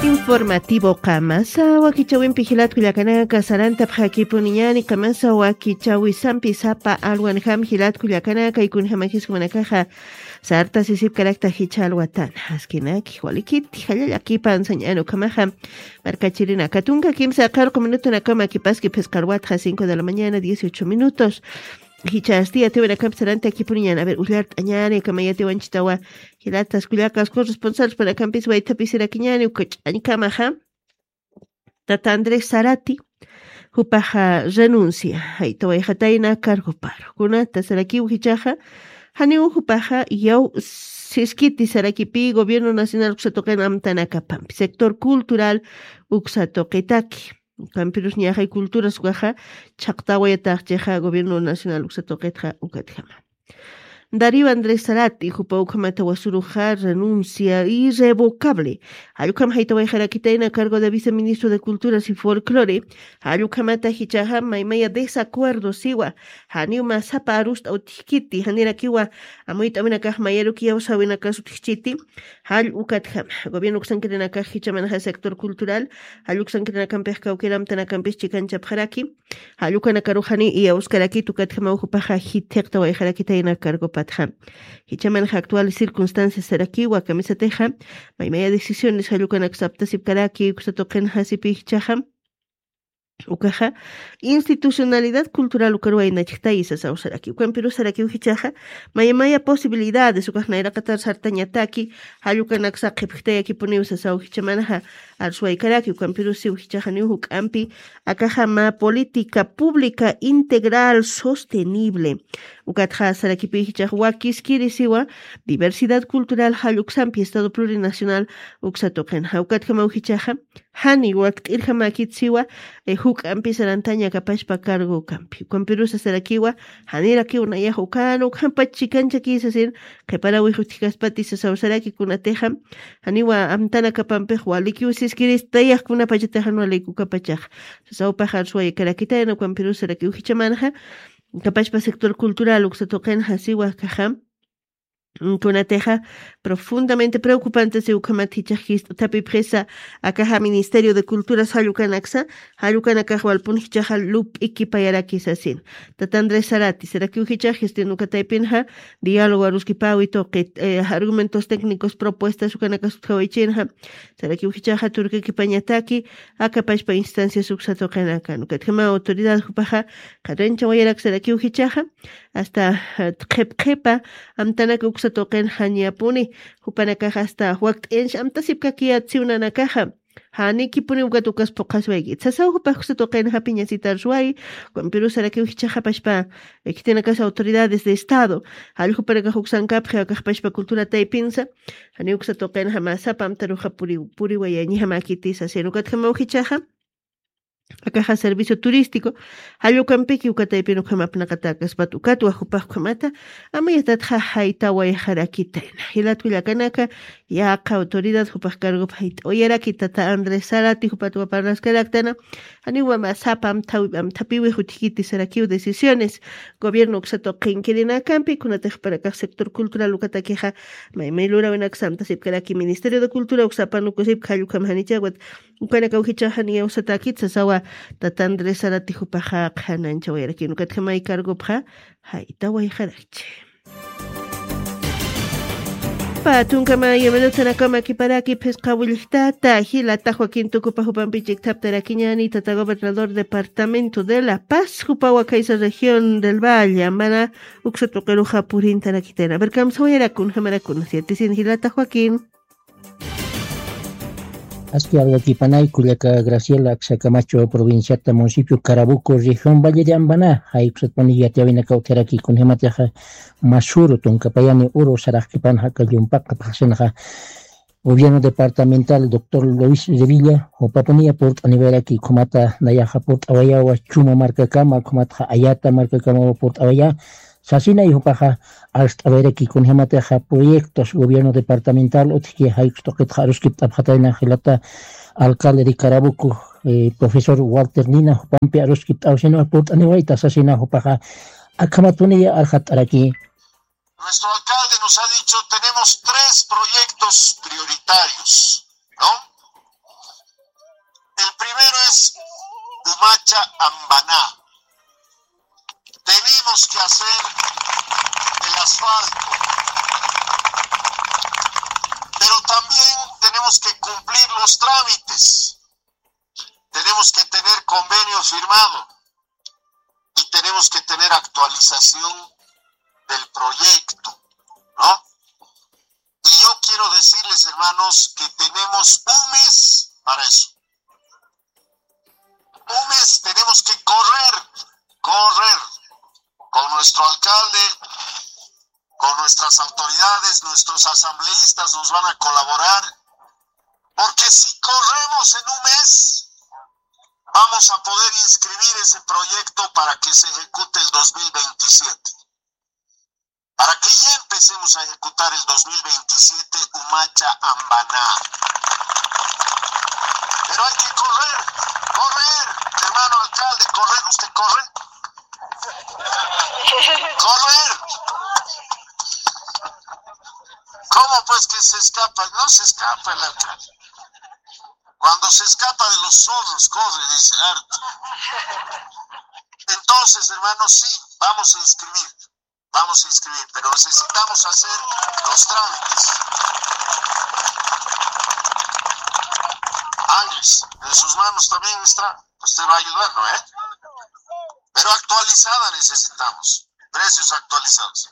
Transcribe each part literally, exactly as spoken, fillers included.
Informativo qamasa wakichawimpi jilatku llakanaka sarantapxakipuniñani qamasa wakichawisampi sapa alwanjam jilatku llakanaka y kunjamakis jumanakaxa sartasisipkarakta jicha alwatana askinaki walikiti jallallaki pansañani ukhamaxa markachirinaka tunka kimsa qarqu minutunakama kipaski phisqarwatxa cinco de la mañana dieciocho minutos. Jichasti yatiwanakampi sarantakipuniñani a ver ullart'añani ukhama yatiwanchitawa jilatas kullakas corresponsalspanakampi waythapisirakiñani uka ch'añkamaxa tata Andrés Sarati jupaxa renuncia jaytawayxatayna cargoparu kunata sarakiw jichaxa janiw jupaxa yaw siskiti sarakipi gobierno nacional uksa tuqin amtanakapampi sector cultural uksa tuqitaki ukampirus ñaxay culturas ukaxa chhaqtawayataxchixa gobierno nacional uksa tuqitxa ukatjama Darío Andrés Sarati jupa ukhamata wasuruxa renuncia irrevocable jallukama jaytawayxarakitayna cargo de viceministro de culturas y folclore jallukhamata jichaxa maymaya desacuerdo siwa janiw masapa arust'aw tijkiti janirakiwa amuyt'awinakax mayaruki yawsawinakasu tijchiti jall ukatjama gobierno uksankirinakax jichamanxa sector cultural jall uksankirinakampix kawkiramtanakampis chikanchapxaraki jallukanakaruxani iyawskarakit ukatjamaw jupaxa jithiqtawayxarakitayna cargopatxa jichamanxa actual circunstancias sarakiwa kamisatixa maymaya decisiones jallukanak saptasipkaraki uksa tuqin jasipi jichaxa ukaxa institucionalidad cultural ukaruwaynachktayi sasaw saraki ukampiru sarakiw jichaxa maymaya posibilidades ukax nayraqatar sartañataki jallukanaksa qhipjtayakipuniw sasaw jichamanxa arswaykaraki ukampirusiw jichaxaniw juk'ampi akaxama política pública integral sostenible ukatxa sarakipi jichax wakiskirisiwa diversidad cultural jalluksampi estado plurinacional uksa tuqinxa ukatjamaw jichaxa jani wakt'irjamäkitsiwa juk'ampi sarantaña kapachpa cargo ukampi ukampirusa sarakiwa janirakiw nayax ukan ukhampach chikanchakisa sin qhiparawix utjkaspati sasaw saraki kunatixa janiwa amtanakapampix walikiw siskirista yaqkunapachataxan walikukapachaq sasawpaxar suwaykarakitayna ukampirusarakiw jichamanxa kapachpa sector cultural uksa tuqinxa siwa kaxa kunatixa profundamente preocupante si ukhamat jichax jist'atapipxisa akaxa ministerio de culturas jallukanaksa jallukanakax walpun jichaxa lup'ikipayaraki sasin tata Andrés Sarati sarakiw jichax jistin ukataypinxa diálogo aruskipawi tuqi argumentos técnicos propuestas ukanakas utjawaychinxa sarakiw jichaxa turkakipañataki akapachpa instancias uksa tuqinakan ukatjama autoridad jupaxa qharanchawayarak sarakiw jichaxa asta qhip qhipa amtanaka uksa tuqin jañapuni jupanakaxa asta wakt'inch amtasipkakiyatsiwnanakaxa janikipuni ukat ukas puqaswaykit sasaw jupax uksa tuqin japiñasitarsuway ukampirusarakiw jichaxapashpa khitinakas autoridades de estado jall jupanakax uksankapxi akaxpashpa cultura taypinsa janiw uksa tuqin jamasapa amtaruxa puriwayañi jamakiti sasin ukatjamaw jichaxa akaxa servicio turístico jallukampiki ukataypin ukhamapnaqatakaspat ukatwa jupax ukhamata amayatatxa jaytawayxarakitayna jilatkullakanaka yaqa autoridad jupax cargop jayt'awayaraki tata Andrés Sarati jupatwa parlaskaraktana janiwa masapa amthapiwix utjkiti sarakiw decisiones gobierno uksatuq qinkirinakampi kunatix jupanakax sector cultural ukatakixa maymay lurawinaksa amtasipkaraki ministerio de cultura uksapan ukusipka jallukam janichawat ukanakaw jichaxa niyawsatakit sasawa tata Andrés Sarati jupaxa qhananchawayarakïn ukatjamay cargopxa jaytawayxarakchi. Patunkamaya minutanakama kiparaki phisqa willjtata jilata Joaquín Tucupa jupampi chikthaptarakiñani tata gobernador departamento de La Paz jupawa kaysa región del Valle amana uksa tuqiruxa purintarakitayna a ver kamsawayarakun jamarakun siyatisin jilata Joaquín. Aski alwakipanay kullaka Graciela Aksakamacho provinciata municipio Carabuco región Valle de Ambana jaykusatpani yatiyawinaka utjaraki kunjamatixa masuru tunkapayani uru saraqkipan jaka llumpaqa phaxsinxa gobierno departamental doctor Luis Revilla jupapuniya purt'aniwayraki khumata nayaxa purt'awayawa chuma markakama khumatxa ayata markakamawa purt'awaya sasinay jupaxa arst'awayraki kunjamatixa proyectos gobierno departamental utjki jaykus tuqitxa aruskipt'apxatayna jilata alcalde de Carabuco profesor Walter Nina jupampi aruskipt'awsina purt'aniwayta sasina jupaxa akhamatuniya arxat'araki. Nuestro alcalde nos ha dicho tenemos tres proyectos prioritarios, ¿no? es Umacha Ambaná. Tenemos que hacer el asfalto, pero también tenemos que cumplir los trámites. Tenemos que tener convenio firmado y tenemos que tener actualización del proyecto, ¿no? Y yo quiero decirles, hermanos, que tenemos un mes para eso. Un mes tenemos que correr, correr con nuestro alcalde, con nuestras autoridades, nuestros asambleístas nos van a colaborar, porque si corremos en un mes, vamos a poder inscribir ese proyecto para que se ejecute el dos mil veintisiete. Para que ya empecemos a ejecutar el dos mil veintisiete Umacha Ambaná. Pero hay que correr, correr, hermano alcalde, correr, usted corre. Correr. ¿Cómo pues que se escapa? No se escapa el alcalde. Cuando se escapa de los zorros, corre, dice harto. Entonces, hermanos, sí, vamos a inscribir. Vamos a inscribir, pero necesitamos hacer los trámites. Ángeles, en sus manos también está. Usted va a ayudarlo, ¿eh? Pero actualizada necesitamos. Precios actualizados.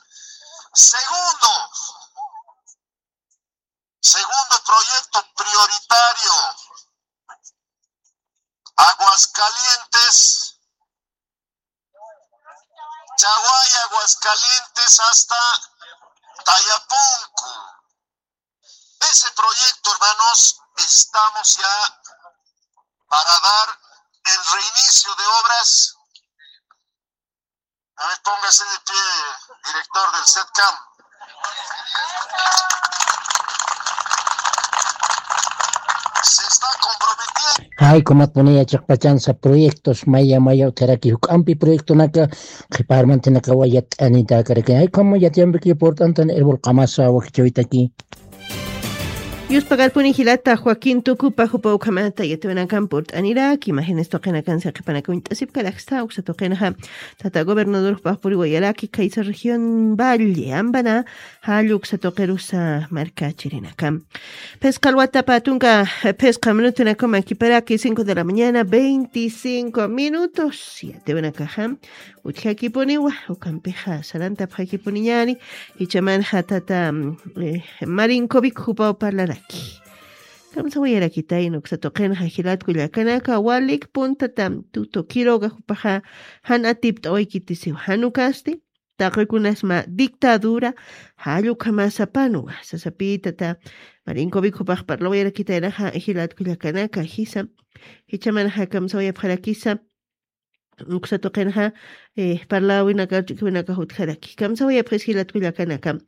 Segundo, segundo proyecto prioritario. Aguascalientes, Chaguay, Aguascalientes hasta Tayapunku. Ese proyecto, hermanos, estamos ya para dar el reinicio de obras. A ver, póngase de pie, director del setcam. Se está comprometiendo. Jaykumatpuniya chiqpachansa proyectos maya maya utjaraki juk'ampi proyectonaka qhiparmantinakawa yat'anitakaraki. Jaykhama yatiyambiki purt'antan erbol qamasa wakichawitaki. Yuspagarpuni jilata Joaquín Tucupa jupa ukhamata yatiwanakan purt'aniraki, imágenes tuqinakan saqipanakuñt'asipkaraksta uksa tuqinaxa tata gobernador jupapuriwayaraki kaysa región valle ambana. Jalluksa tuqirusa markachirinaka. Phisqa alwatapa tunka phisqa minutunakuma kiparaki cinco de la mañana veinticinco minutos yatiwanakaxa. Utjakipuniwa ukampixa sarantapxakipuniñani. Ichamanxa tata marinkovic jupaw parlaraki. Kamsawayarakitayna uksa tuqinxa jilatku llakanaka walikpun tata tuto kiroga jupaxa jan atipt'awaykitisiwa janukasti. Taqikunasma dictadura jallukamasapanwa sasapitata. Marinkovic jupax parlawayarakitaynaxa jilatku llakanaka jisa. Jichamanxa kamsawayapxarakisa. Uksa tuqinxa parlawinaka ch'ukiwinaka jutjaraki kamsawayapxis jilatku llakanaka.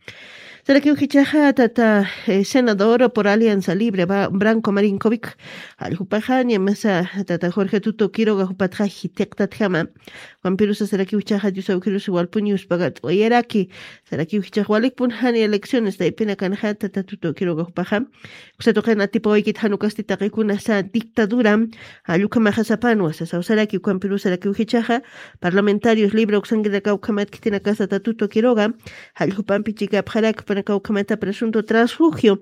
Sarakiw jichaxa tata senador por alianza libre branco marinkovic jalljupaxa ñamasa tata jorge tuto kiroga jupatxa jitiqtatjama. Wampirusa sarakiw jichaxa diosawkirus walpuniw uspagat'wayaraki. Sarakiw jichax walikpun jani elecciones taypinakanxa tata tuto kiroga jupaxa. Uksa tuqin atipawaykit janukasti taqikunasa dictadura jallukamaxasapanwa sasaw saraki ukampirusarakiw jichaxa. Parlamentarios libre uksankinakaw ukhamat khitinakasa tatuto kiroga jallukhampi chikapxaraki upanakaw ukhamata presunto transfugio.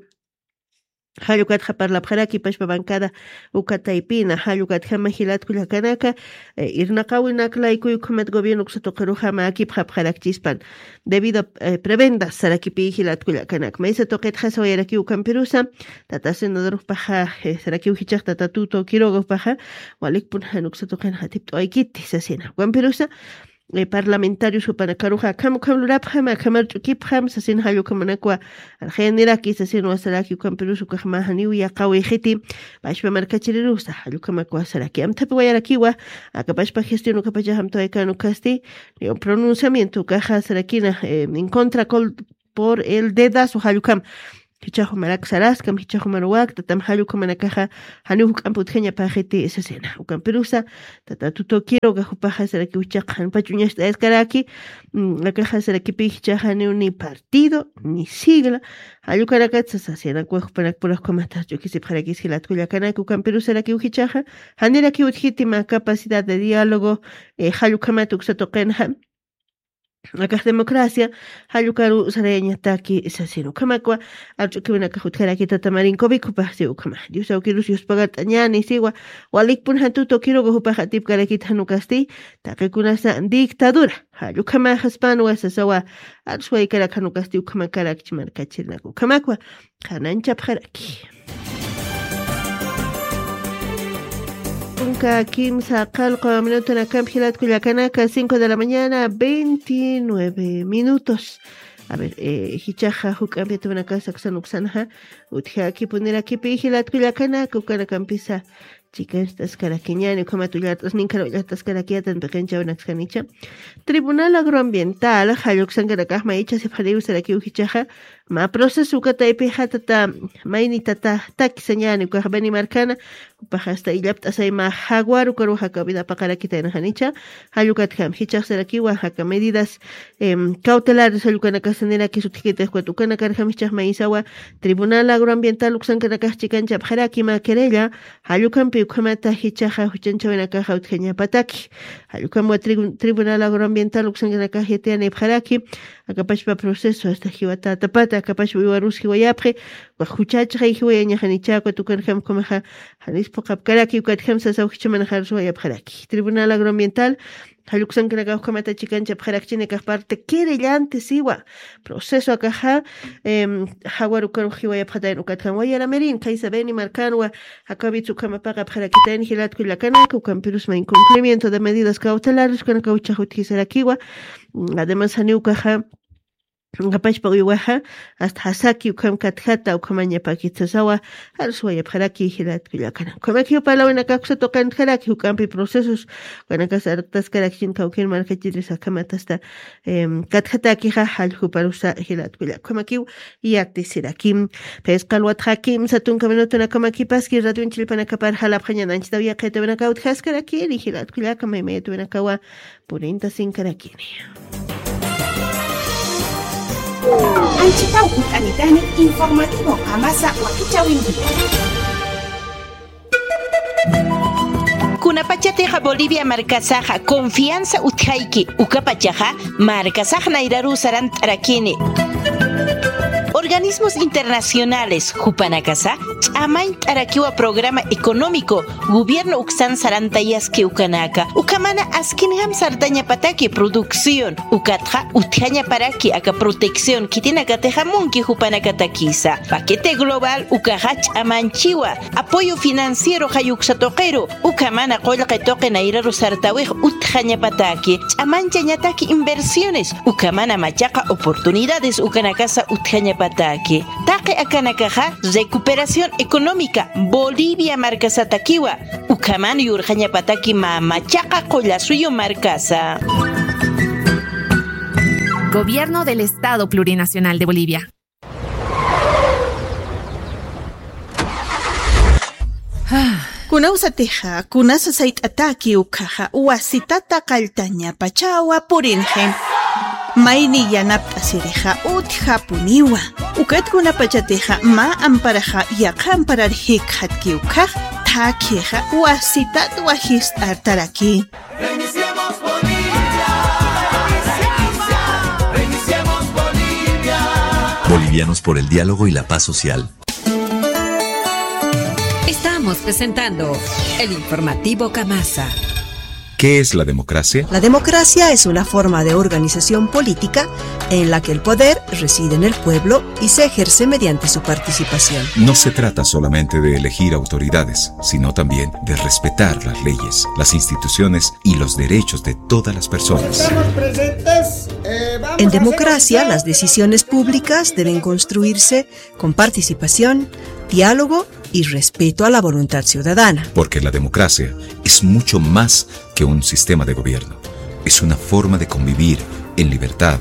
Jallukatxa parlapxaraki pashpa bankada. Ukataypina jallukatjama jilatku llakanaka irnaqawinaklaykuy ukhamat gobierno uksa tuqiruxama akipxapxarakchispan. Debido a prebendas sarakipi jilatku llakanaka maysa tuqitxa sawayarakiw ukampirusa. Tata senadorpaxa sarakiw jichax tata tuto kirogapaxa walikpun jan uksa tuqinxa atipt'awaykiti sasina ukampirusa. Parlamentarios jupanakaruxa akham ukham lurapxam akhamar ch'ukipxam sasin jallukhamanakwa. Arxayaniraki sasin wasaraki ukampirus ukaxma janiw yaqawi jiti pashpa markachirirusa jallukhamakwa saraki amthapi wayarakiwa. Aka pashpa gestión ukapachax amtawaykan ukasti pronunciamiento ukaxa sarakina en contra por el dedazo jallukham. jichhax jumarak saraskam, jichhax jumaruwak, tatam jall ukhamanakaxa janiw juk'ampi utjañapaxiti sasina. Ukampirusa, tata Tuto Quiroga jupaxa sarakiw jichhax jan pach uñast'ayaskaraki, mm, akaxa sarakipi jichhax janiw ni partido, ni sigla, jall ukanakat sasina, ukax jupanakpura ukhamata ch'ukisipxarakis jilat kullakanaka, ukampirusarakiw jichhaxa, janirakiw utjiti mä capacidad de diálogo, eh, jall ukhamat uksa tuqinxa, akax democracia, jall ukaru sarayañataki sasina. Ukhamakwa, arch'ukiwinakax utjaraki tata Marinkovic jupaxsi ukhama. Dios awkirus yuspagart'añäni siwa, walikpun jan Tuto Quiroga jupax atipkarakit jan ukasti, taqikunasa dictadura, jall ukhamaxaspanwa sasawa, arswaykarak jan ukasti ukhamakarakchi markachirinaka. Ukhamakwa, qhananchapxaraki. Tunka kimsa qallqu minutonakampi jilat kullakanaka, cinco de la mañana, veintinueve minutos. A ver, eh, jichhaxa juk'ampi atuwinakasa aksan uksanxa utjakipunirakipi jilat kullakanaka, ukanakampisa chikanchaskaraki, ñani ukhamat ullart'asninkhar ullart'askarakiyätan piqinchawinakskanicha. Tribunal Agroambiental jall uksankanakax mayichhasipxariw sarakiw jichhaxa, mä proceso uka taypixa tata, mayni tata, takisa ñani ukax Beni markana, jupax hasta illapt'asay mä jaguar ukaruxa aka vida paqarakitayna janicha, jall ukatjam jichhax sarakiwa aka medidas, em, cautelares jall ukanakasa nirakis utjkitix ukat ukanakarjam jichhax mayisawa Tribunal Agroambiental uksankanakax chikanchapxaraki mä querella, jall ukampi ukhamata jichhaxa juchanchawinakaxa utjañapataki. Jall ukamwa tribu-, Tribunal Agroambiental uksankanakax yatiyanipxaraki, aka pachpa proceso hasta jiwatätapata, aka pachpa uywarus jiwayapxi, ukax juchachxay jiwayañaxanicha, ukat ukanjam ukhamaxa janis phuqhapkaraki, ukatjam sasaw jichhamanxa arswayapxaraki. Tribunal Agroambiental jall uksankanakax ukhamata chikanchapxarakchini akax parte querellante siwa. Proceso akaxa, em, jaguar ukarux jiwayapxatayna, ukatjam wayaramirin, kaysa Beni markanwa, akawitsa ukhama paqapxarakitayna jilat kullakanaka, ukampirus mä incumplimiento de medidas cautelares ukanakaw jichhax utjisarakiwa. Mm, además, janiw ukaxa, aka pachpa uywaxa, hasta jasaki ukham katjata, ukhamañapakit sasawa, arswayapxaraki jilat kullakanaka. Ukhamakiw parlawinakax uksa tuqintxaraki, juk'ampi procesos, ukanakas artaskarakchin kawkin markachiris akhamat hasta, em, katjatakixa jall juparusa jilat kullaka. Ukhamakiw yatisiraki. Phisqa alwatxa kimsa tunka minutonakamakipaski radioñ chillpanakapar jalapxañananchitaw yaqhitawinakaw utjaskarakini jilat kullaka, maymayatawinakawa purintasinkarakini. Anchitaw utanitani informativo Qamasa wakichawinki. Kunapachatixa Bolivia markasaxa confianza utjayki, ukapachaxa markasax nayraruw sarant'arakini. Organismos internacionales jupanakasa ch'amañt'arakiwa programa económico gobierno uksan sarantayaski ukanaka, ukhamana askinjam sartañapataki producción, ukatxa utjañaparaki aka protección khitinakatixa munki jupanakatakisa. Paquete global ukaxa ch'amanchiwa apoyo financiero jayuksa tuqiru, ukhamana qullqi tuqi nayraru sartawix utjañapataki, ch'amanchañataki inversiones, ukhamana machaqa oportunidades ukanakasa utjañapataki. Taqi akanakaxa recuperación económica Bolivia markasatakiwa, ukhaman yurxañapataki mä machaqa qullasuyu markasa. Gobierno del Estado Plurinacional de Bolivia. Kunawsatixa, kunasa sayt'ataki ukhaxa, wasitata qalltañapachawa purinxi. Mayni yanapt'asirixa utjapuniwa. Ukat kunapachatixa mä amparaxa yaqha amparar jikxatki ukhax, thakhixa wasitat wajist'artaraki. Bolivianos por el diálogo y la paz social. Estamos presentando el informativo Qamasa. ¿Qué es la democracia? La democracia es una forma de organización política en la que el poder reside en el pueblo y se ejerce mediante su participación. No se trata solamente de elegir autoridades, sino también de respetar las leyes, las instituciones y los derechos de todas las personas. Estamos presentes, eh, vamos a hacer... En democracia, las decisiones públicas deben construirse con participación, diálogo y respeto a la voluntad ciudadana. Porque la democracia es mucho más que un sistema de gobierno. Es una forma de convivir en libertad,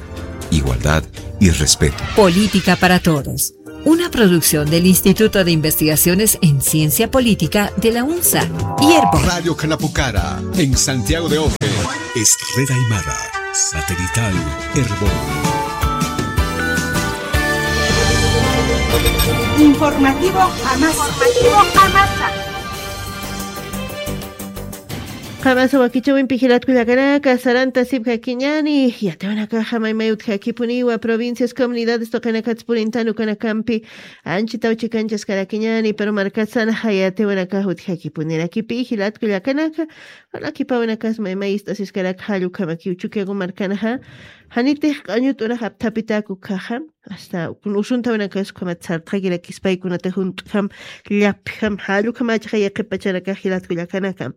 igualdad y respeto. Política para todos. Una producción del Instituto de Investigaciones en Ciencia Política de la UNSA y Erbo. Radio Canapucara, en Santiago de Oje, es Red Aymara, satelital Erbo. Informativo Amasa. Informativo Amasa. Qamasa wakichawimpi jilatkullakanaka, sarantasipkakiñani, yatiwanakaxa maymay utjakipuniwa, provincias, comunidades tuqinakatsa purintan ukanakampi, anchita uchikanchaskarakiñani, pero markasana jayatiwanakax utjakipunirakipi, jilatkullakanaka, walakipawanakasa maymay ist'asiskarak jallukamakiw Chukiyawu markanaxa, janitix q'añut'unax apthapitaku kaxa, hasta kun usuntawinakas ukhamat sartxakirakispa, paykunata junt'jam, llapjam, jallukamachaxa yaqipachanakax jilatkullakanaka.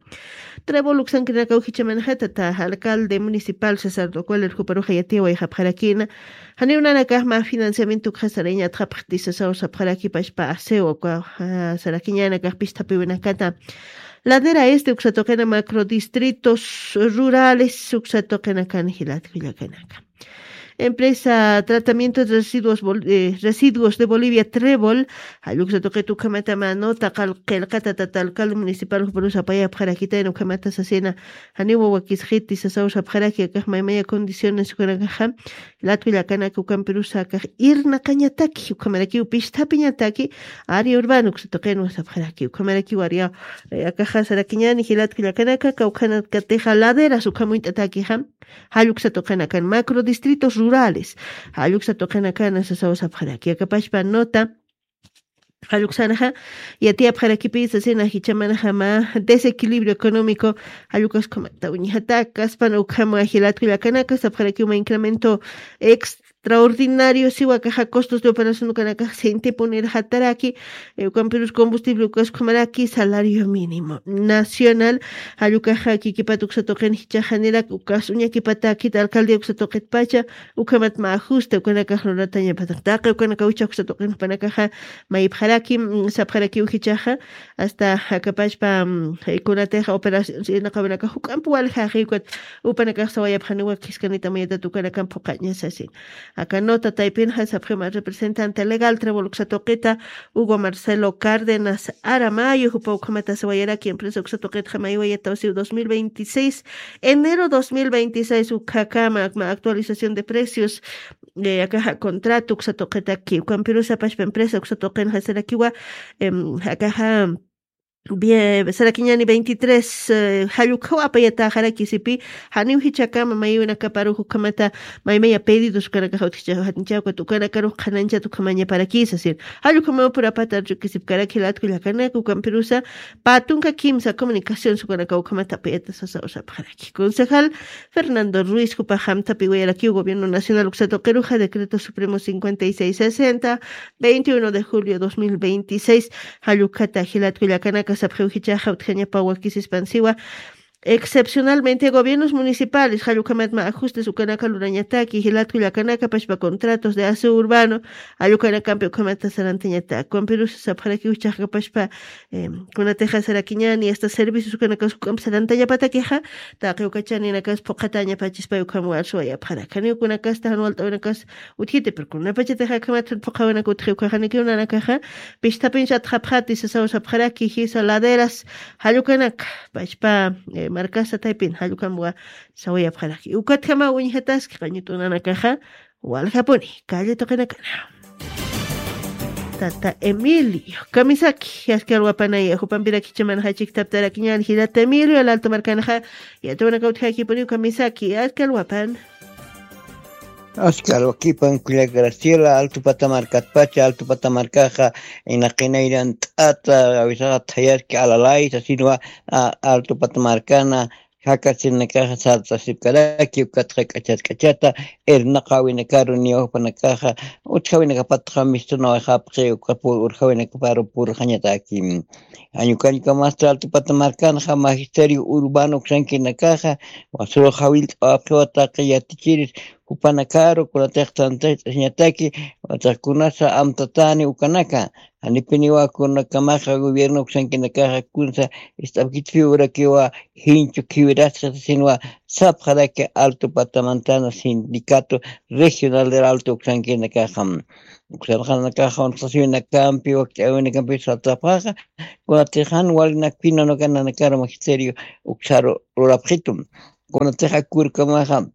Trébol uksankirinakaw jichamanxa tata alcalde municipal César Docual irjuparuxa yatiwayxapxarakina. Janiw nanakax mä financiamiento ukxa sarañatxapxti sasaw sapxaraki pachpa aseo uka, ah, sarakiñanakax pisthapiwinakata. Ladera este uksa tuqina macro distritos rurales uksa tuqinakan jilatkullakanaka. Empresa Tratamiento de Residuos Bol-, eh, Residuos de Bolivia, Trébol, jalluksa tuqit ukhamatama nota qal-, qillqata tata alcalde municipal juparusa apayapxarakitayna ukhamata sasina, janiwa wakisxiti sasaw sapxaraki akax maymaya condiciones ukanakaxa, jilatkullakanaka ukampirusa akax irnaqañataki, ukhamarakiw pisthapiñataki, área urbana uksa tuqinwa sapxaraki, ukhamarakiw área, eh, akaxa sarakiñani jilatkullakanaka, kawkhanakatixa laderas ukhamuñt'atakixa, jalluksa tuqinakan, macro distritos rurales, jalluksa tuqinakan sasaw sapxaraki, akapachpa nota, jalluksanaxa, yatiyapxarakipï sasina jichamanxa mä desequilibrio económico, jallukaskhumata uñjatakaspan ukhama jilatkullakanaka sapxarakiw mä incremento extraordinario siwa akaxa costos de operación ukanakax sintipunir jataraki, eh, ukampirus combustible ukaskhumaraki salario mínimo nacional, jallukaxa kikipat uksa tuqin jichaxanirak ukas uñakipatakit alcaldía uksa tuqitpacha, ukhamat mä ajuste ukanakax luratañapataq taqi ukanakaw jichhax uksa tuqin jupanakaxa mayipxaraki, mm, sapxarakiw jichhaxa, hasta akapachpa, mm, eh, kunatixa operación irnaqawinakax juk'amp waljaxi ukat upanakax sawayapxaniwa wakiskanita mayatat ukanakamp phuqaña sasin. Aka nota taypinxa sapxi mä representante legal Trébol uksa tuqita Hugo Marcelo Cárdenas Aramayo, jupa ukhamata sawayaraki empresa uksa tuqitxa maywayataw siw dos mil veintiséis, enero dos mil veintiséis ukhakama, akma actualización de precios, eh, akaxa contrato uksa tuqitaki, ukampirusa pachpa empresa uksa tuqinxa sarakiwa, em, akaxa, bie-, sarakiñani veintitrés, eh, jallukhaw apayataxaraki sipi, janiw jichhakama maywinakaparux ukhamata, maymaya pedidos ukanakax utjichaw janichaw ukat ukanakarux qhanañchat ukhamañaparakisa sir. Jallukhamapur apatar chukisipkaraki jilatkullakanaka ukampirusa, pä tunka kimsa comunicación sukanakaw ukhamata apayata sasaw sapxaraki. Concejal Fernando Ruiz jupax amthapiwayarakiw gobierno nacional uksa tuqiruxa decreto supremo cincuenta y seis sesenta, veintiuno de julio dos mil veintiséis, jallukata jilatkullakanaka sapxiw jichhaxa utjañapa wakisispan siwa, excepcionalmente gobiernos municipales jallukhamat mä ajustes ukanaka lurañataki, jilatkullakanaka pachpa contratos de aseo urbano, jallukanakampi ukhamata sarantañatak. Ukampirusa sapxarakiw jichhaxa pachpa, em, kunatixa sarakiñani, hasta servicios ukanakas juk'amp sarantañapatakixa, taqi uka chaninakas phuqhatañapachispay ukham warsuwayapxarak. Janiw kunakasta jan walt'awinakas utjiti, pero kunapachatixa akhamat phuqhawinaka utji ukaxanikiw nanakaxa, pisthapin satxapxati sasaw sapxaraki, jisa laderas, jallukanaka, pachpa, eh, markasa taypin, jallukamwa sawayapxaraki. Ukatjama uñjataski, qañut'unanakaxa, waljapuni, calle tuqinakana. Tata Emilio, kamisaki, aski alwapanaya, jupampiraki chamanxa chiktaptarakiñan, jilata Emilio, al alto markanxa, yatiwanaka utjakipuniw kamisaki, aski alwapan. Aski alwakipan, kullaka Graciela, alto pata markatpacha, alto pata markaxa, inaqinayran t'ata, awisaxa thayarki alalay, sasinwa, a, alto pata markana, jakasinakaxa sartasipkaraki, ukatxa k'achat k'achata, irnaqawinakaru niwajpanakaxa, utjawinakapatxa mistunawayxapxi, uka pur, urjawinakaparu purxañataki. Añukañukamasta alto pata markanxa, magisterio urbano uksankinakaxa, wasuru jawillt'awapxiwa taqi yatichiris, upanakaru kunatix tantach'asiñataki, wataq kunasa amtatani ukanaka, janipiniwa kunakamaxa gobierno uksankinakaxa kunsa ist'apkitpi urakiwa jinchu khiwirasqa sasinwa sapxaraki alto patamantana sindicato regional del alto uksankinakaxa. Uksanxanakaxa unsqasiwinakampi wakt'awinakampi satapxaxa, kunatix jan walinakpina unakananakaru magisterio uksaru lurapxitu. Kunatix akurkamaxa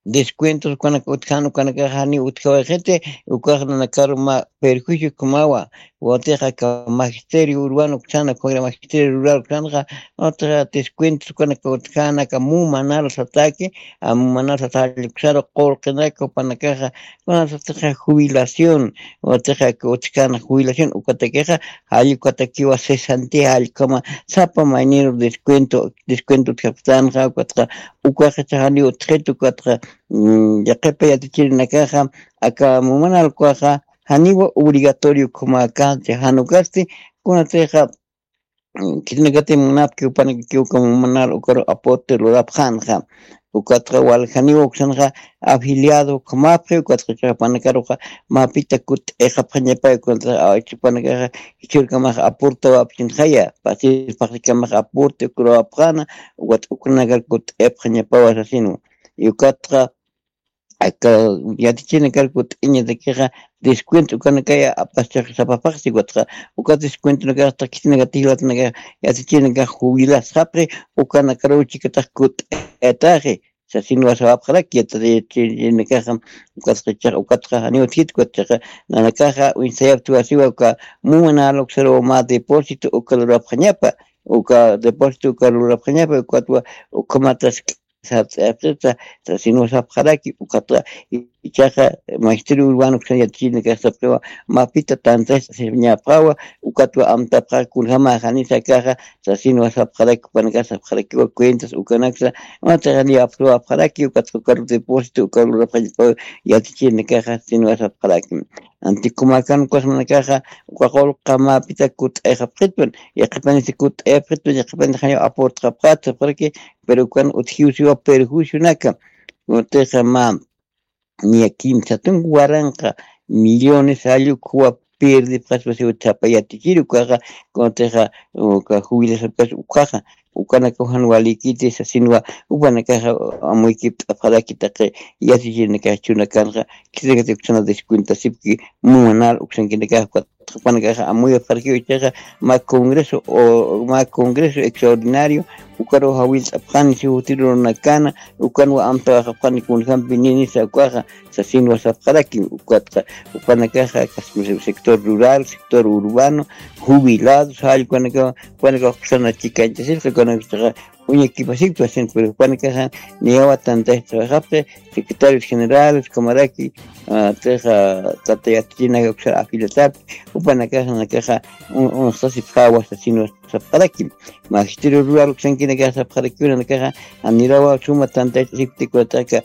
descuentos ukanaka utjan ukanakaxa jani utjawayxiti, ukax nanakaru mä perjuicio kumawa. Watixa aka magisterio urbano uksana ukagra magisterio rural uksanxa, watixa descuentos ukanaka utjana aka mumanal sataki, a mumanal sataki uksaru qurqinaka upanakaxa, kunasatixa jubilación, watixa aka utjana jubilación ukatakixa jallukatakiwa cesantía jallukama sapa mayniru descuento, descuento utjaptanxa ukatxa, ukaxa jani utjit ukatxa, mm, yaqhipa yatichirinakaxa aka mumanal ukaxa janiwa obligatorio ukhamakanti, jan ukasti kunatixa, mm, khitinakati munapki upanakakiw uka mumanal ukaru aporte lurapxänxa. Ukatxa wal janiwa uksanxa afiliado ukhamapxi, ukatxa jupanakaruxa mapita kut'ixapxañapay, ukatxa jupanakaxa jichhürkamax aportawapxinxaya, pasir paqrikamax aporte ukaru apxäna, ukat ukanakar kut'ipxañapawa sasinwa. Ukatxa aka yatichirinakarku t'uñatakixa descuento ukanakaya apaschax sapapaqsi, ukatxa uka descuentonakax taqkitinakatix jilatanakax yatichirinakax jubilasxapxi, ukanakaruw chikatax kut'ataxi sasinwa sapapxaraki. Yatichirinakaxa ukatxa, ukatxa janiw utjit, ukatxa nanakaxa uñsayaptiwasiwa uka mumanal uksaruw mä depósito uka lurapxañapa, uka depósito uka lurapxañapa, ukatwa ukhamatas sart'ayapxita sasinwa sapxaraki. Ukatxa ichaxa magisterio urbano uksan yatichirinakax sapxiwa mapita tantachasiñapxawa, ukatwa amtapxaxa kunjama janisa akaxa sasinwa sapxaraki, upanakax sapxarakiwa cuentas ukanaksa, watixa niw apsuwapxaraki, ukatxa ukaru depósito ukaru lurapxañapawa yatichirinakaxa sasinwa sapxaraki. Antikumakan ukasmanakaxa uka qullqamapita kut'ayxapxitwan, yaqhipanisa kut'ayapxitwan, yaqhipanisa janiw aportxapxät sapxaraki, pero ukan utjiw siwa perjuicionaka. Kunatixa mä niya kimsa tunka waranqa millones jallukhuwa pirdipxaspa siwa sapa yatichiri ukaxa, kunatixa uka jubilasapkas ukaxa, ukanakaw jan walikiti sasinwa, upanakaxa amuykipt'apxaraki taqi yatichirinakax chunakanxa, khitinakati uksana descuentasipki mumanal uksankinakax, ukat jupanakaxa amuyapxarakiw ichaxa mä congreso o mä congreso extraordinario ukaruw jawillt'apxani siw jutirunakana, ukanwa amtawaxapxani kunjampi ninisa ukaxa sasinwa sapxaraki. Ukatxa jupanakaxa sector rural, sector urbano, jubilados jallkunakaw, jupanakaw uksana chikañchasipxi, ukanakaxa uñakipasipxi sasin, pero jupanakaxa niyawa tantachasipxi, secretarios generales ukhamaraki, ah, tixa tata yatichirinaka uksar afiliatarpi, jupanakaxa nanakaxa un-, unsqasipxawa sasinwa sapxaraki. Magisterio rural uksankinakaxa sapxarakiwa nanakaxa janirawa suma tantachasipkti, kunataka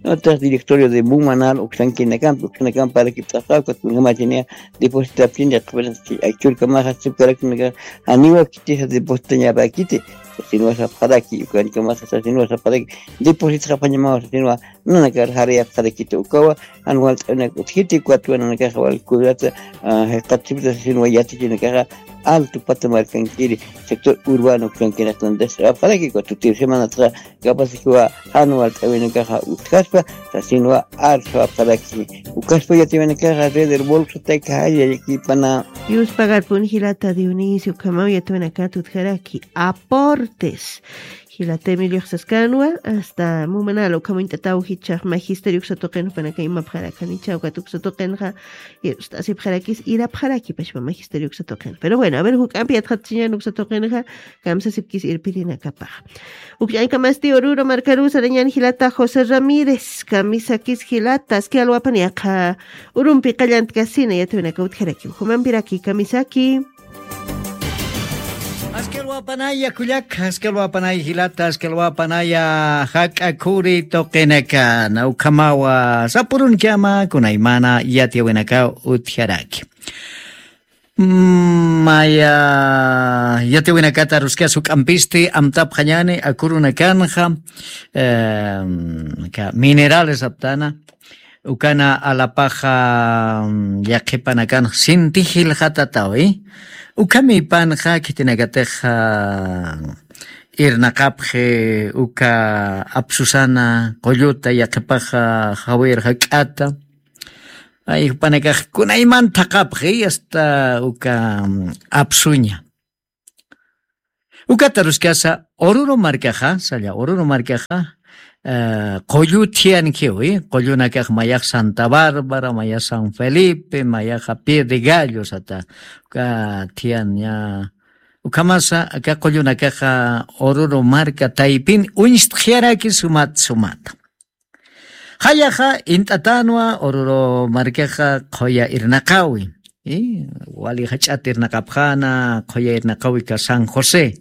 otras directorio de mumanal uksankinakampi, uksanakamparakipt'apxawa, ukat kunjamachiniya depositapxin, yaqhipanisa aychhürkamaxa sapkarakinakas janiwa khitisa depositañapäkiti sasinwa sapxaraki, ukankamaxa sasinwa sapxaraki, depositxapxañamawa sasinwa nanakar jarayapxarakiti ukawa, jan walt'awinaka utjiti, ukatwa nanakaxa wal cuidata, ah, jayqatasipta sasinwa yatichirinakaxa alto pata markankiri sector urbano uksankinaktantas sapxaraki, ukat tutir semanataxa capaz que wa jan walt'awinakaxa utjaspa sasinwa arsapxaraki. Ukaspa yatiwinakaxa red del bolsataki jallallakipana. Yuspagarpun jilata Dionisio, ukhamaw yatiwinakat utjaraki aportes. Jilata Emiliox saskanwa, hasta mumanal ukham uñt'ataw jichhax magisterio uksa tuqin jupanaka imapxarakanicha, ukat uksa tuqinxa irpst'asipxarakis, irapxarakipaspa magisterio uksa tuqin. Pero bueno, a ver, juk'ampi yatxatchiñan uksa tuqinxa, kamsasipkis irpirinakapax. Ukch'añkamasti Oruro markaru sarañan jilata José Ramírez, kamisakis jilata, aski alwapan yaqha urumpi qallantkasina yatiwinaka utjaraki, ukhumampiraki kamisaki. Aski alwapanaya kullak, aski alwapanaya jilata, aski alwapanaya jak'a khuri tuqinakan, ukhamawa sapurunchama kunaymana yatiyawinakaw utjaraki. Maya yatiwinakata ruskasa juk'ampisti amtapxañani akurunakanxa, minerales aptana. Ukana alapaxa yaqhipanakanxa sinti jilxatatawi. Ukhamipanxa khitinakatixa irnaqapxi uka apsusana qulluta yaqhipaxa jawir jak'ata. Ay jupanakax kunaymanta thaqapxi asta uka apsuña. Ukata ruskasa ururu markaxa salla ururu markaxa qullu thiyankiwi qullunakax mayax santa bárbara mayax san felipe mayaxa pie de gallo sata uka thiyan ña. Ukhamasa aka qullunakaxa ururu marka taypin uñstxyaraki sumat sumata. Jallaxa int'atanwa ururu markaxa qhuya irnaqawi. Wali jach'at irnaqapxana qhuya irnaqawi ka san josé.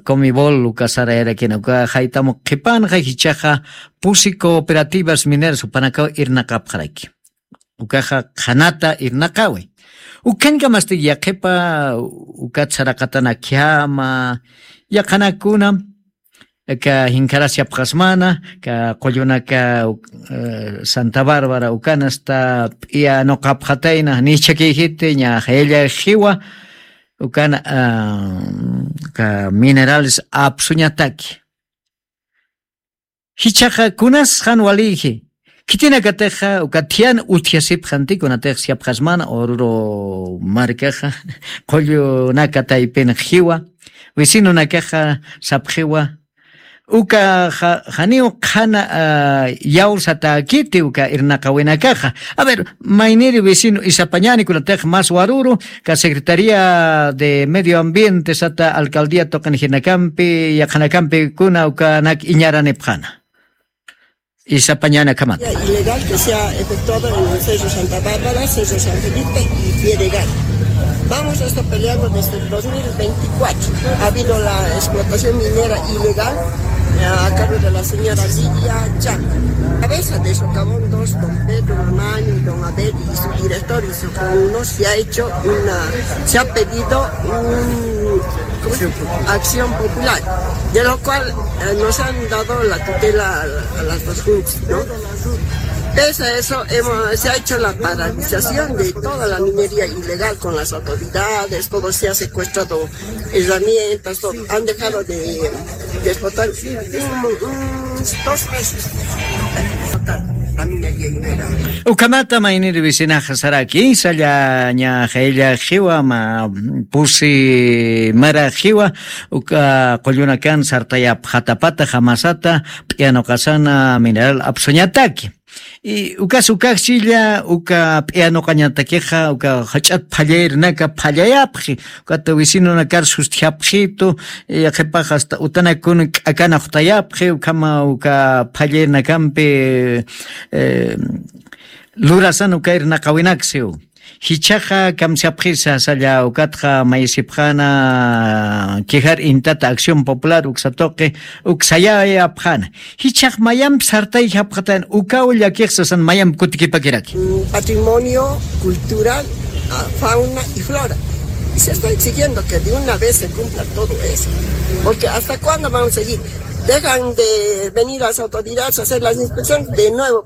Comibol uka sarayarakina uka jaytamu qhipanxa jichaxa pusi cooperativas mineras jupanakaw irnaqapxaraki. Ukaxa qhanata irnaqawi. Ukhankamasti yaqhipa ukat saraqatana khiyama yaqhanakuna ka jinkharasiapxasmana ka qullunaka santa bárbara ukanasta p'iya nuqapxatayna nichhakiyjiti ña jayalla jiwa. Ukana ka minerales apsuñataki. Jichhaxa kunas jan walïji khitinakatixa uka thiyan utjasipxanti kunatix siapxasmana ururu markaxa qullunaka taypinxa jiwa vecinonakaxa sapxiwa. Uka janiw qhana yawsatäkiti uka irnaqawinakaxa. A ver, mayniri vecino isapañani kunatix mas waruru ka secretaría de medio ambiente sata alcaldía tuqinjirnakampi yaqhanakampikuna ukanak iñaranipxana. Isapañana kamata. Ilegal que se ha efectuado en el Cerro Santa Bárbara, Cerro San Felipe y Pie de Gallo. Vamos a estar peleando desde el dos mil veinticuatro. Ha habido la explotación minera ilegal a cargo de la señora Lidia Chan. Cabeza de Socavón dos, don Pedro Mamani, don Abel y su director y su no se ha hecho una, se ha pedido un acción popular, de lo cual nos han dado la tutela a las dos juntas, ¿no? Pese a eso, hemos, se ha hecho la paralización de toda la minería ilegal con las autoridades, todo se ha secuestrado, herramientas, todo. Han dejado de, de explotar un, un, dos meses. Ukhamata mayniri vecinaxa saraki salla ña jaylla jiwa ma pusi mara jiwa uka qullunakan sartayapxatapata jamasata p'iyanuqasana mineral apsuñataki. Y ukas ukaxchilla uka p'iyanuqañatakixa uka jach'at phallayrinaka phallayapxi. Ukata vecinonakar sustjapxitu yaqhipax asta utanakun k'akanaxtayapxi ukhama uka phallaynakampi lurasan uka irnaqawinaksiw. Jichhaxa kamsapxisa salla ukatxa mayisipxana kijar intata acción popular uksatuqi uksayayapxana. Jichhax mayamp sartayjapxatan ukaw llakixsasan mayamp kutikipakiraki. Patrimonio cultural, fauna y flora. Y se está exigiendo que de una vez se cumpla todo eso. Porque hasta cuándo vamos a seguir? Dejan de venir las autoridades a hacer las inspecciones de nuevo.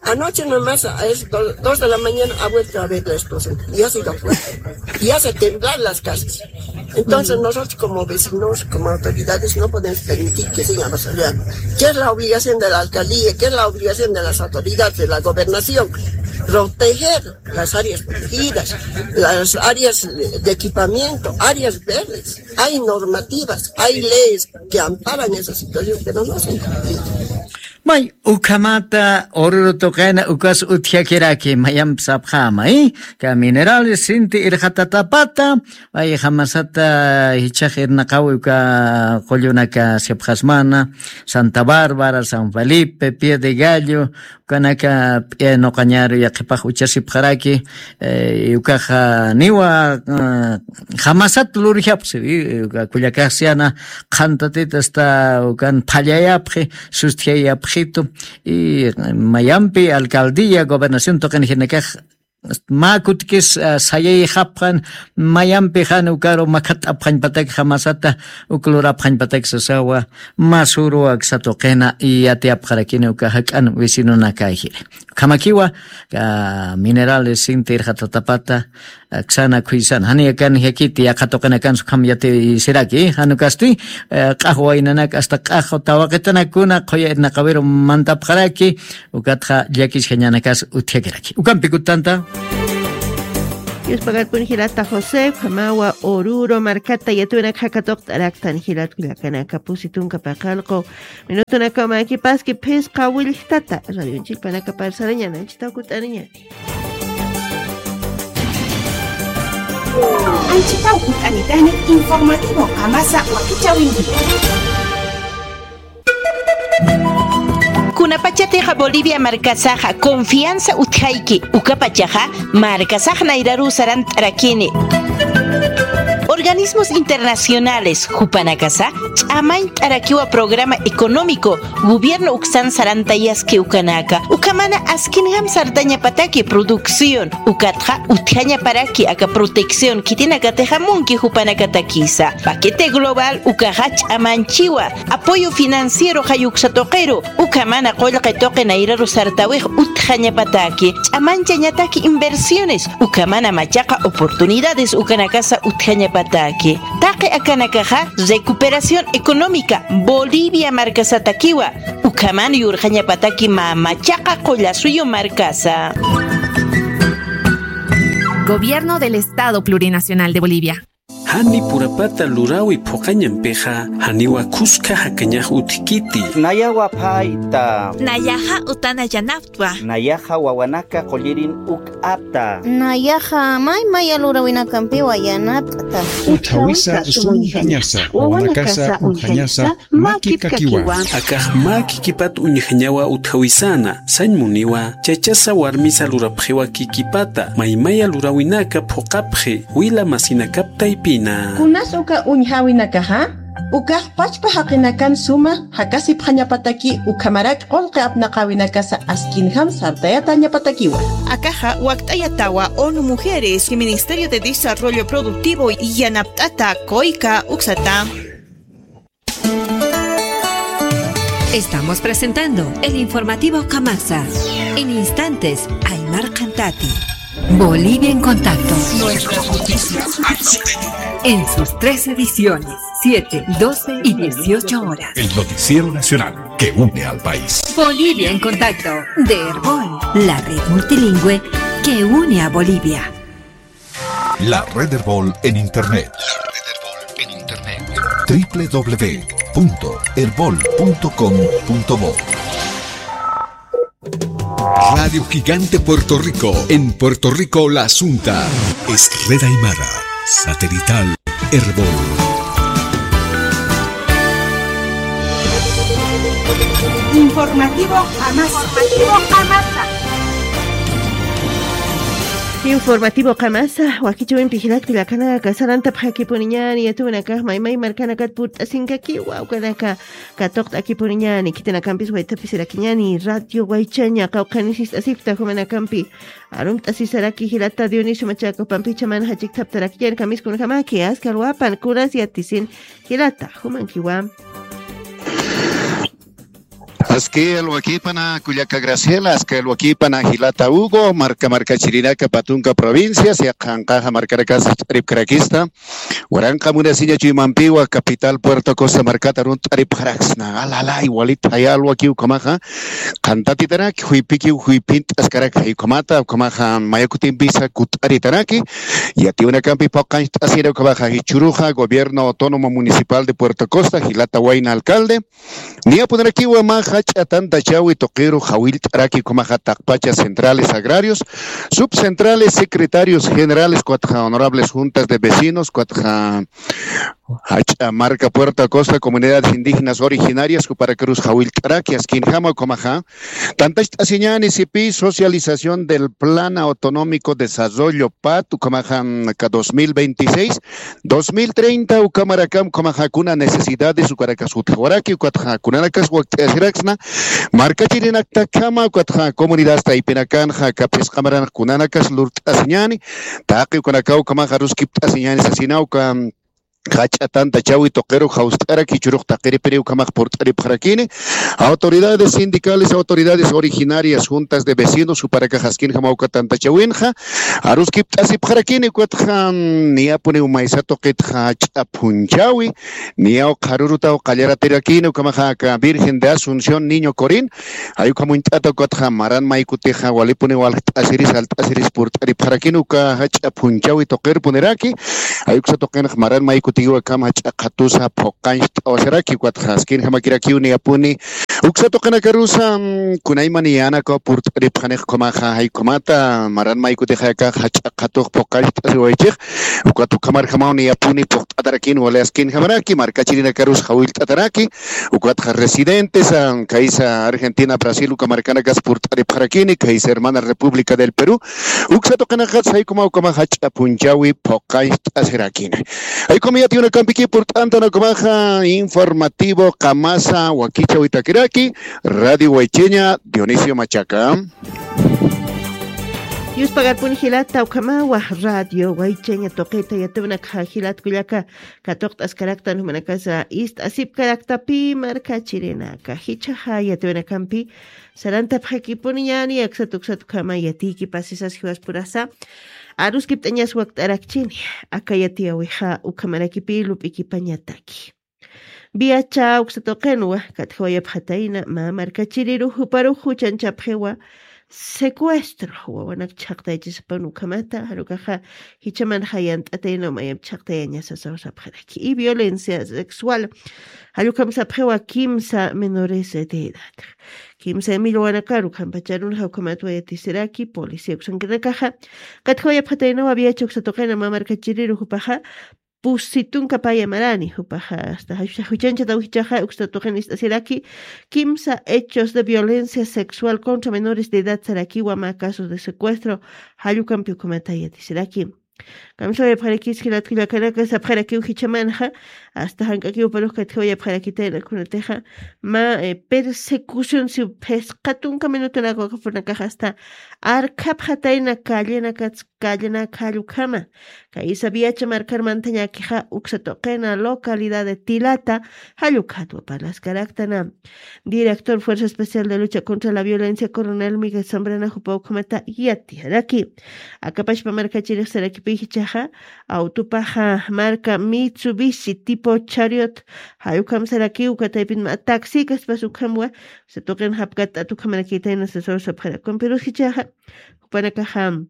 Anoche nomás a las dos de la mañana ha vuelto a haber la explosión. Y ha sido fuerte. Y hace temblar las casas. Entonces nosotros como vecinos, como autoridades, no podemos permitir que sigan basaleando. ¿Qué es la obligación de la alcaldía? ¿Qué es la obligación de las autoridades de la gobernación? Proteger las áreas protegidas, las áreas de equipamiento, áreas verdes. Hay normativas, hay leyes que amparan esa situación, pero no se han cumplido. May ukhamata ururu tuqina ukas utjakiraki mayamp sapxama, eh? Ka minerales sinti irxatatapata, ay jamasata jichhax irnaqawi uka qullunaka sipxasmana, Santa Bárbara, San Felipe, Pie de Gallo, ukanaka p'iyanuqañaru yaqhipax uchasipxaraki. Ukaxa niwa jamasat lurjapxsi. Uka kullakaxsiyana qhantatit asta ukan phallayapxi sustjayapxitu. Y mayampi alcaldía gobernación tuqinjirnakax mä kutkis, ah, sayayxapxan, mayampi jan ukaru makhat'apxañpatakxa masata, uk lurapxañpatak sasawa, mä suru aksa tuqina, y yatiyapxarakini uka jak'an vecinonakay jiri. Ukhamakiwa, ah, minerales sinti irxatatapata, ah, aksana khuysan. Jani akan jakiti, yaqha tuqinakan sukham yati siraki, jan ukasti, eh, q'ax waynanak, hasta q'ax tawaqitanakuna, qhuya irnaqawiru mantapxaraki, ukatxa llakisjañanakas utjakiraki. Ukampi kutanta. Yuspagarpun jilata José, ukhamawa Oruro markata yatiyunak jakatuqt'araktan jilat kullakanaka pusi tunka paqallqu minutunakaw makipaski phisqa willktata radionchikpanaka parsarañani, anchitaw kut'aniñani. Anchitaw kut'anitani informativo qamasa wakichawinki. Kunapachatixa Bolivia markasaxa confianza utjayki, ukapachaxa markasax nayraruw sarant'arakini. Organismos internacionales jupanakasa ch'amañt'arakiwa programa económico gobierno uksan sarantayaski ukanaka, ukhamana askinjam sartañapataki producción, ukatxa utjañaparaki aka protección khitinakatixa munki jupanakatakisa. Paquete global ukaxa ch'amanchiwa apoyo financiero jayuksa tuqiru, ukhamana qullqi tuqi nayraru sartawix utjañapataki, ch'amanchañataki inversiones, ukhamana machaqa oportunidades ukanakasa utjañapataki. Taqi akanakaxa recuperación económica Bolivia markasatakiwa, ukhaman yurqañapataki mä machaqa qullasuyu markasa. Gobierno del Estado Plurinacional de Bolivia. Jani purapata lurawi phuqañampixa, janiwa khuska jakañax utjkiti. Nayawa phayta. Nayaxa utana yanaptwa. Nayaxa wawanaka qullirin uk'apta. Nayaxa may maya lurawinakampiwa yanapt'ta. Utjawisa sum uñjañasa, wawanakasa uñjañasa, mä kipkakiwa. Akax mä kikipat uñjañawa utjawisana, sañ muniwa, chachasa warmisa lurapxiwa kikipata, maymaya lurawinaka phuqapxi, wila masinakap taypina. Kunas uka uñjawinakaxa, ukax pachpa jaqinakan suma jakasipxañapataki ukhamarak qullqi apnaqawinakasa askinjam sartayatañapatakiwa. Akaxa wakt'ayatawa ONU Mujeres y Ministerio de Desarrollo Productivo yanapt'ata kuyka uksata. Estamos presentando el informativo Kamasa. En instantes, Aymar Cantati. Bolivia en contacto. Nuestras noticias. En sus tres ediciones, siete, doce y dieciocho horas. El noticiero nacional que une al país. Bolivia en contacto, de Erbol, la red multilingüe que une a Bolivia. La Red Erbol en Internet. La Red Erbol en Internet. W W W punto erbol punto com punto bo. Radio Gigante Puerto Rico, en Puerto Rico la Asunta. Es Red Aymara, satelital, Erbol. Informativo Amasa. Informativo Amasa. Informativo Qamasa, wakichawimpi jilat kullakanaka, sarantapxakipuniñani, yatiyunakax maymay markanakat purt'asinkakiwa, ukanaka katuqt'akipuniñani, khitinakampis waythapisirakiñani, Radio Waychaña, qawqhanis ist'asipta jumanakampi, arumt'asisaraki jilata Dionisio Machaca, pampicha mana jachiktaptarakiñani, kamiskunjamaki, askha alwapan, kunas yatisin, jilata, jumankiwa. Askha alwakipana kullaka Graciela, askha alwakipana jilata Hugo, marka markachirinaka patunka provincias, yaqhanqaxa markarakas ch'aripkarakista. Waranqa munasiña chuymampiwa capital Puerto Costa markata arunt'aripxaraksna. Alala, igualita jaya alwakiw ukhamaxa. Qantatitanaki, juypikiw juyphint'askarak jay ukhamata, ukhamaxa maya kutimpisa kut'aritanaki. Yatiyunakampi phuqañcht'asina ukhamaxa jichhüruxa Gobierno Autónomo Municipal de Puerto Costa, jilata wayna alcalde. Niyapunarakiwa mä jach'a tantachawi tuqiru jawillt'araki ukhamaxa taqpacha centrales agrarios, subcentrales, secretarios generales, ukatxa honorables juntas de vecinos, ukatxa Jach'a marka Puerto Acosta, comunidades indígenas originarias, juparakarus jawillt'araki askinjama ukhamaxa. Tantacht'asiñani sipi socialización del plan autonómico desarrollo pat ukhamaxa, aka dos mil veintiséis, dos mil treinta ukhamarakam ukhamaxa kuna necesidades ukarakas utjawaraki, ukatxa kunanakas wakt'asiraksna markachirinaktakama, ukatxa comunidad taypinakanxa kaphisqamaran kunanakas lurt'asiñani, taqi ukanakaw ukhamaxa aruskipt'asiñani sasina uka jach'a tantachawi tuqiru jawst'araki, jichhürux taqiripiri ukhamax purt'aripxarakini. Autoridades sindicales, autoridades originarias, juntas de vecinos, juparakax askinjama uka tantachawinxa aruskipt'asipxarakini, ukatxa niyapuniw maysa tuqitxa jach'a phunchawi, niyaw qharürutaw qallaratirakini ukhamaxa aka Virgen de Asunción Niño Corín, jay ukham uñt'ata ukatxa maran maykutixa walipuniw waljt'asiris, alt'asiris purt'aripxarakini uka jach'a phunchawi tuqirpuniraki. Jay uksa tuqinx maran maykutiw akham jach'a qhatusa phuqancht'awasiraki, ukatxa askinjamakirakiw niyapuni uksa tuqinakarusa, mm, kunayman yänakaw purt'aripxanix ukhamaxa, jay ukhamata maran maykutixa akax jach'a qhatux phuqancht'asiwaychix, ukat ukhamarjamaw niyapuni phuqt'atarakini wali askinjamaraki, markachirinakarus jawillt'ataraki, ukatxa residentes, ah, kaysa Argentina, Brasil, uka markanakas purt'aripxarakini, kaysa hermana República del Perú, uksa tuqinakats jay ukhama ukhama jach'a phunchawi phuqancht'asirakini. Jay ukhama yatiyunakampiki purt'antan ukhamaxa informativo qamasa wakichawitakiraki, Radio Waycheña, Dionisio Machaca. Yuspagarpuni jilata ukhamawa Radio Waycheña tuqita yatiwinakxa jilat kullaka katuqt'askaraktan jumanakasa ist'asipkaraktapi markachirinaka. Jichhaxa yatiwinakampi sarantapxakipuniñani aksat uksat ukhama yatiykipasisas jiwaspurasa. Aruskipt'añas wakt'arakchini. Aka yatiyawixa ukhamarakipi lup'ikipañataki. Viacha uksa tuqinwa katjawayapxatayna mä markachiriru juparux juchanchapxiwa secuestro wawanak chhaqtayachisapan ukhamata, jarukaxa jichhamanxa yant'atayna mayamp chhaqtayañasasaw sapxaraki. Y violencia sexual, jallukam sapxiwa kimsa menores de edad. Kimsa millwanakar ukhampacharunxa ukhamatwa yatisiraki policía uksankinakaxa. Katjawayapxataynawa viacha uksa tuqina mä markachiriru jupaxa pusitunkapaya marani, jupaxa hasta juchanchataw jichhaxa uksa tuqin ist'asiraki kimsa hechos de violencia sexual contra menores de edad sarakiwa mä casos de secuestro jallukampi ukhamata yatisiraki. Kamsawayapxarakis jilat kullakanaka sapxarakiw jichhamanxa hasta jank'akiw parux katjawayapxarakitayna kunatixa mä persecución si phisqa tunka minutunaka ukapunakaxa hasta arkhapxatayna callenakats callenak jallukhama. Kaysa viacha markar mantañakixa uksa tuqina localidad de Tilata jallukhatwa parlaskaraktana. Director Fuerza Especial de Lucha contra la Violencia, Coronel Miguel Zambrana jupa ukhamata yatijaraki. Akapashpa markachirix sarakipi jichhaxa autopaxa marka Mitsubishi tipo Chariot jallukam saraki uka taypin mä taxi kaspas ukhamwa uksa tuqin japkat'at ukhamarakitayna sasaw sapxarakun pero jichhaxa jupanakaxa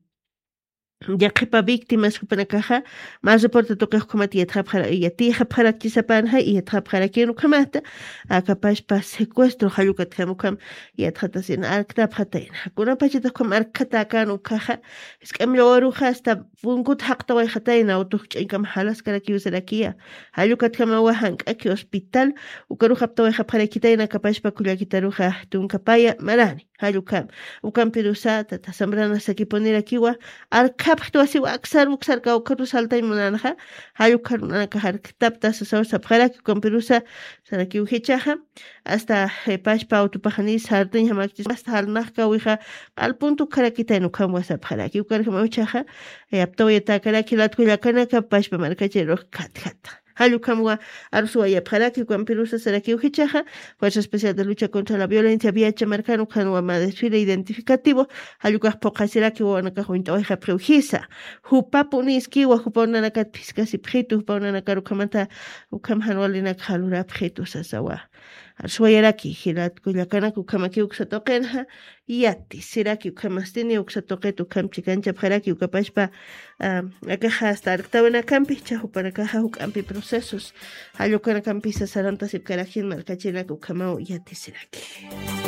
yaqhipa víctimas jupanakaxa mä reporte tuqix ukhamat yatiyxapxarakchisapanxa y yatxapxarakïn ukhamata akapashpa secuestro jallukatjam ukham yatxatasina arktapxatayna kunapachatix ukham arkhatäkän ukhaxa jisk'amilla waruxa hasta punkut jaqtawayxatayna autox ch'aykam jalaskarakiw sarakiya jallukatjamawa jank'aki hospital ukarux aptawayxapxarakitayna akapashpa kullakitaruxa tunkapaya marani. Jallukam ukampirusa tata Zambrana sakipunirakiwa arkhapxtwasiwa aksar uksar kawkharus saltañ munanxa jallukharunanakax arktapta sasaw sapxaraki ukampirusa sarakiw jichhaxa hasta pashpa autopaxani sartañ jamakchis hasta jalnaxkawixa q'alpuntukxarakitayna ukhamwa sapxaraki ukarjamaw jichhaxa aptawayatäkaraki latkullakanaka pashpa markachirux khatjata. Jallukhamwa arsuwayapxaraki ukampirusa sarakiw jichhaxa Fuerza Especial de Lucha contra la Violencia viacha markan ukhanwa mä desfile identificativo jallukax phuqhasiraki wawanakax uñt'awayxapxiw jisa. Jupapuniskiwa jupaw nanakat phiskasipxitu jupaw nanakar ukhamata ukham janwalinak jalurapxitu sasawa. Arsuwayaraki jilat kullakanak ukhamakiw uksa tuqinxa yatisiraki ukhamastini uksa tuqit ukham chikanchapxaraki ukapashpa akaxa hasta arktawinakampi jichha jupanakaxa juk'ampi procesos jallukanakampi sasarantasipkarakjin markachinak ukhamaw yatisiraki.